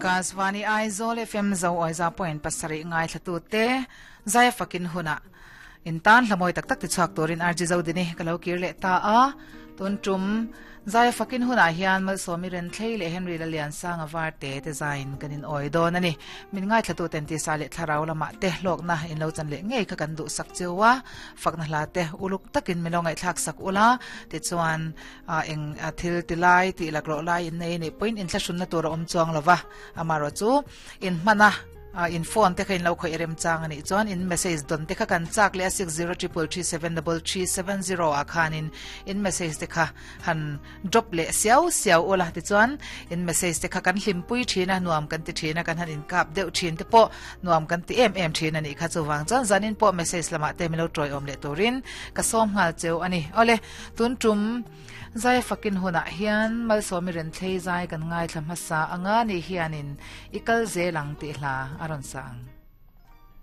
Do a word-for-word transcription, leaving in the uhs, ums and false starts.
Akashvani Aizawl F M zo oiza point pasarih ngaithla te zai fakin huna in tan hlamoi tak tak ti chuak turin R G zo dini kalo kir le ta a tun tum zai fakin huna hian mal somi ren thlei le Henry la lian sang awar te te zain kanin oi don ani min ngai thlatu ten ti sa le thlarau lama te hlok na in lo chan le ngei kha kan du sak chewa fakna hla te uluk takin milongai thlak sak ula ti chuan eng thil ti lai ti laklo lai in nei ni point in thlasun na tur om chuang lova amaro chu in mana in phone te khain lo khoi rem chang ani chuan in message don te kha kan chak le six zero triple three seven double three seven zero a khanin in message te kha han drop le siau siau ola ti chuan in message te kha kan hlimpui thina nuam kan ti thina kan han in kap deuh thin te po nuam kan ti em em thina ni kha chuwang chuan zanin po message lama te milo troi om le turin ka som ngal cheu ani ole tun tum zai fakin huna hian malsomi ren thlei zai kan ngai thla hmasa anga ni hianin ikal zelang ti hla aron sang.